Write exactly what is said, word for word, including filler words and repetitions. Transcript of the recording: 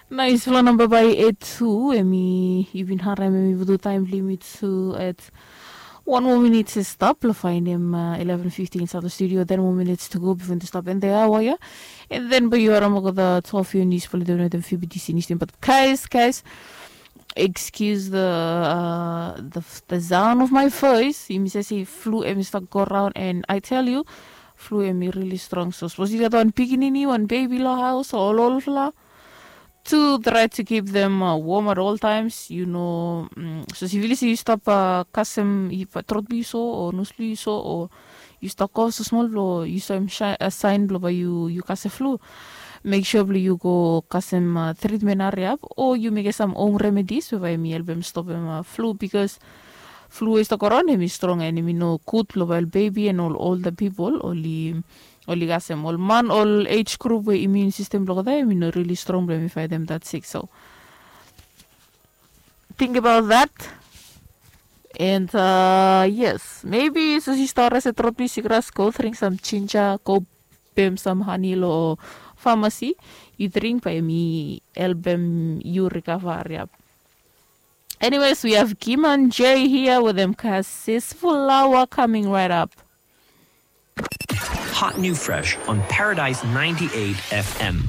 Nais flo namba bai et tu em i yu bin harim em i butu taim limit tu et wan moa minit se stap lo fainim eleven fifty insait lo studio ten moa minit tu go bifo tu stap en de awa ya. En den bai yu harim olgeta twelve yu nis fo lidem wetem fibidisi nis dem bat kais kais. Excuse the uh, the, the sound of my voice. Yumi sesi flu em i stap go raun and I tell you, flu em i really strong. So suppose you got one pikinini, one baby lo house, or all fla. To try to keep them uh, warm at all times, you know. Mm, so si vili si you stop uh, kasem if uh, trot bi so or nus bi so or you stop kof so small blo you saw him shine, uh, sign blo ba you you kase flu. Make sure blo you go kasem uh, treatment hurry up or you make some home remedies blo ba mi help him stop him uh, flu because flu is the corona him is strong and him no good blo ba baby and all older people only only kasem all man all age group where immune system blo them you know really strong blo mi fight them that sick so think about that. And uh, yes, maybe so si stara se trot bi si gras go drink some ginger, go bem some honey lo pharmacy. You drink by me, help them you recover. Yep. Anyways, we have Kim and Jay here with them cause sis flower coming right up. Hot new fresh on Paradise ninety-eight F M.